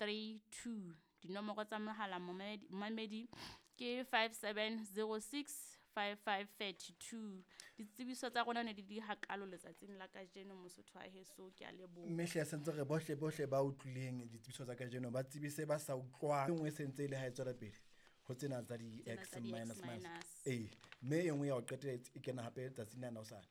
32. Dinomoro tsa mohala momamedi ke 5706 5532. Ditsebiso tsa rona ne di di hakalo letsatsing la kajeno, Mosotho wa heso, ke a leboha. Mme hle sentse re bohle bohle ba utlwileng ditsebiso tsa kajeno ba tsebise ba sa utlwang. E nngwe e sentse e le ha e tswela pele ho tsena tsa Tsena di-X tsa di-X minus minus. minus. Ee, mme e nngwe ya ho qetela e kena hape tsatsing lena hosane.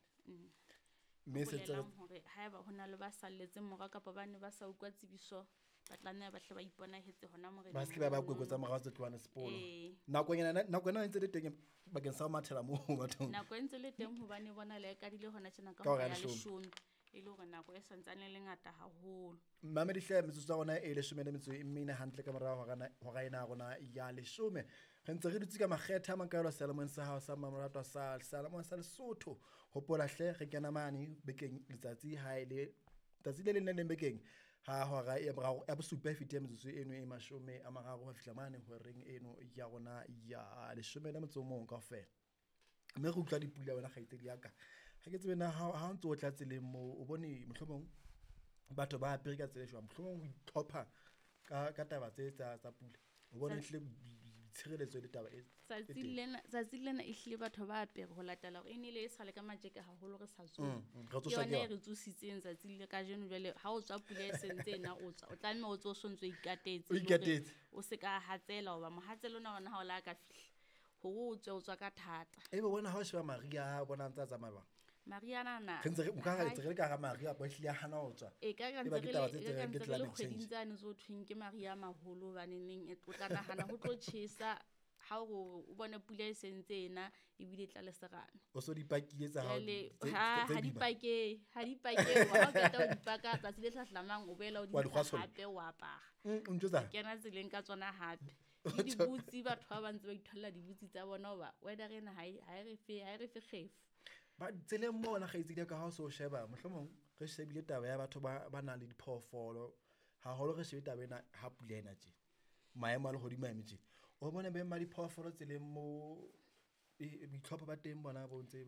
Mme Ho se ntse re bolelang hore haeba ho na le ba salletseng morao kapa ba ne ba sa utlwa tsebiso, ba tlameha ba hle ba iponahetse hona moreneng Ba se ke ba ba mono. kwekwe tsa morao tse tlohang sepolo. Ee. Nakonyana, nako ena e ntse le teng bakeng sa ho mathela moo bathong. Nako e ntse le teng hobane bona le e kadile hona tjena ka Ka hora hora ya ya leshome. 10, e le hore nako e santsane e le ngata haholo. Mamedi hle, metsotso ya rona e 14 hantle ka morao hora ena ya rona ya 10. Re ntse re dutse ka makgethe a makaalo seyalemoyeng sa hao sa mamoratwa sa seyalemoya sa Lesotho. Hopola hle, re kena mane bekeng letsatsi ha e le tsatsi le leng le leng bekeng ha hora ya boraro ya bosupa e fetile metsotso eno e 30 ho fihla mane horeng eno ya rona ya 11 kaofela. Mme re utlwa dipula wena kgaitsedi ya ka. Ha ke tsebe na ha o ntso o tla tseleng moo o bone mohlomong batho ba apere ka tsela e jwang, mohlomong ho itlhopha ka taba tse tsa pula. O bone ehlile tshireletso le taba e Tsatsing teng. lena, tsatsing lena ehlile batho ba apere ho latela hore e nile e sale ka matjeke haholo re sa tsoha. Re Ke tsoswa yona ke e yona. re tsositseng tsatsing le kajeno. Jwale ha o tswa pula e sentse ena o tswa, o tlameha o tswe o sontso o ikatetse, O le hore ikatetse. o se ka hatsela hoba mohatsela ona ona ha o la ka fihla hore o tswe, o tswa ka thata. Ebe wena ha o sheba mariha o bona a ntse a tsamaya jwang? Maria nana Re ntse re nka re ntse re le ka hara mariha kapa ehlile a hana ho tswa. E ka E ba ke taba tse e ka tsereng ke ntse re le climate kgweding change. tsane tse ho thweng ke mariha a maholo, hobaneneng o tla nahana ho tlo tjhesa ha o re o bone pula e sentse ena ebile e tla le serame. O so di pakile tsa hao Jwale tse ha di boima. pakehe, ha di pakehe hoba ha o qeta ho di paka tsatsi le hlahlamang o boela o di Wa di ntsha kgwasolla. hape o apara. O ntjwetsa? Kena tseleng ka tsona hape. Le dibutsi, batho ba ba ntse ba itholla dibutsi tsa bona hoba weather ena ha e re fe kgefu. Ba tseleng mona kgaitsedi ya ka ha o so sheba mohlomong re shebile taba ya batho ba nang le diphoofolo haholo, re shebe taba ena ha pula ena tje, maemo a lehodimo a eme tje, o bone beng ba diphoofolo tseleng mo boitlhopho ba teng bona bo ntse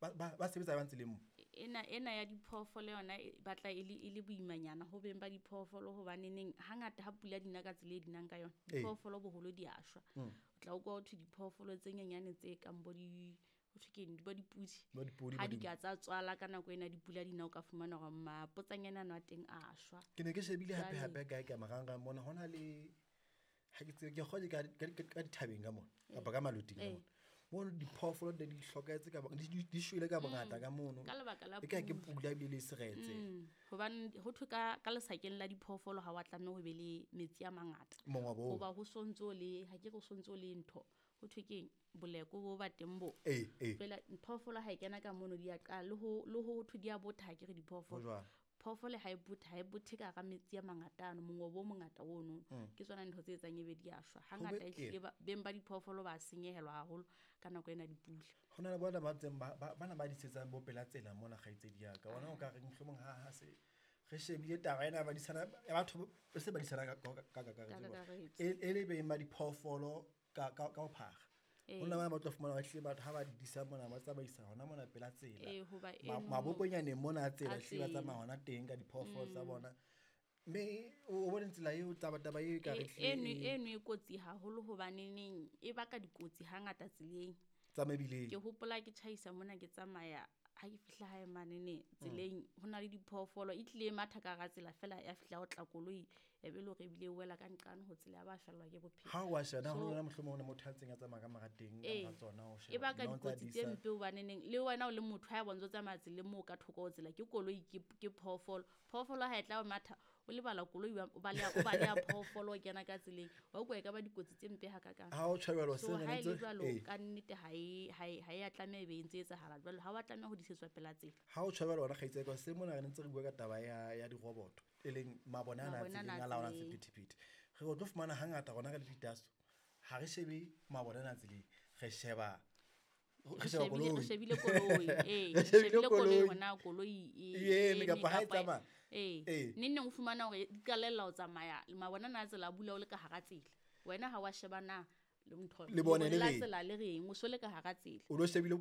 ba sebetsa jwang tseleng mo? Ena ya diphoofolo yona e batla e le boimanyana ho beng ba diphoofolo, hobaneneng hangata ha pula di na ka tsela e di nang ka yona, diphoofolo boholo di a shwa. O tla utlwa ho thwe diphoofolo tse nyenyane tse kang bo di, ho thwe keng, bo dipudi, Bo dipodi, ha bo di ka tsa tswala ka nako ena dipula di na, o ka fumana hore mapotsanyane ano a teng a shwa. Ke ne ke shebile hape Jwale hape kae ka marangrang mona ho na le ha ke tsebe ke kgolwa ke ka dithabeng ka mona kapa ka maloting ka mona. Mono diphoofolo di hlokahetse ka di shwele ka bongata ka mono. Ka lebaka la E ka ke pula. pula ebile le seretse. Hobane ho thwe ka lesakeng la diphoofolo ha wa tlameha ho be le metsi a mangata. Mongobo oo. Hoba ho sontso le ha ke re ho sontso le ntho, ho thwe keng, boleko bo ba teng bo. Ee, ee. Jwale phoofolo ha e kena ka mono di a qala le ho thwe di a botha, ha ke re Ho diphoofolo. jwalo. Phoofolo ha e bothe, ha e bothe ka hara metsi a mangata ano, mongobo o mongata ono. Ke tsona ntho tse etsang ebe di a shwa. Hangata Ho be ehlile beng ba diphoofolo ba senyehelwa haholo ka nako ena ya dipula. Ho na le bona ba ntseng bana ba disetsang bo pela tsela mona kgaitsedi ya ka. Bona o ka re mohlomong ha se re shebile taba ena ya badisana ya batho ba se badisana ka kakaretso. Ka kakaretso. E le beng ba diphoofolo ka ho phara. Ho na ba tlo fumana ba hlile batho ha ba di disa mona ba tsamaisa hona mona pela tsela. Ee, hoba eno Maboponyaneng mona a tsela a hlile ba tsela. tsamaya hona teng ka diphoofolo tsa bona. Mme o bone tsela eo taba eo e ka re hlile Eno e kotsi haholo hobaneneng e baka dikotsi hangata tseleng. Tsa mebileng. Ke hopola ke tjhaisa mona ke tsamaya, ha ke fihla hae manene tseleng ho na le diphoofolo e tlile e matha ka hara tsela fela ya fihla ho tla koloi ya be le hore ebile e wela ka nqane ho tsela ya ba fellwa ke bophelo. Ha o wa sheba So ho na mohlomong ho na motho a ntseng a tsamaya ka mora teng ka mora tsona o E sheba. baka Nna o ntsa dikotsi tse disa. mpe hobaneneng le wena o le motho ha e bontsha o tsamaya tseleng moo ka thoko ho tsela ke koloi ke phoofolo. Phoofolo ha e tla o matha o lebala koloi o baleha phoofolo o kena ka tseleng. Wa utlwa e ka ba dikotsi tse mpe hakakang. Ha o tjhebelwa So se re ha e le ntse jwalo ka nnete ha e a tlameha e be e ntse e etsahala jwalo, ha wa tlameha ho disetswa pela tsela. Ha o tjhebelwa hona kgaitsedi ka se mona re ntse re bua ka taba ya diroboto e leng mabone ana a Mabone ana tseleng a a laolang tseleng. sephethephethe. Re o tlo fumana hangata rona re le ditaso ha re shebe mabone ana a tseleng, re sheba re sheba Re koloi. shebile koloi, ee, Re re shebile shebile koloi koloi. hore na koloi E e eme eme kapa ha e kapa tsamaya. ee. Neng neng o fumana hore di qalella ho tsamaya mabone ana a tsela a bula o le ka hara tsela. Wena ha wa sheba na le ntho Lebone le la reng? tsela le reng, o so le ka hara tsela. O lo shebile.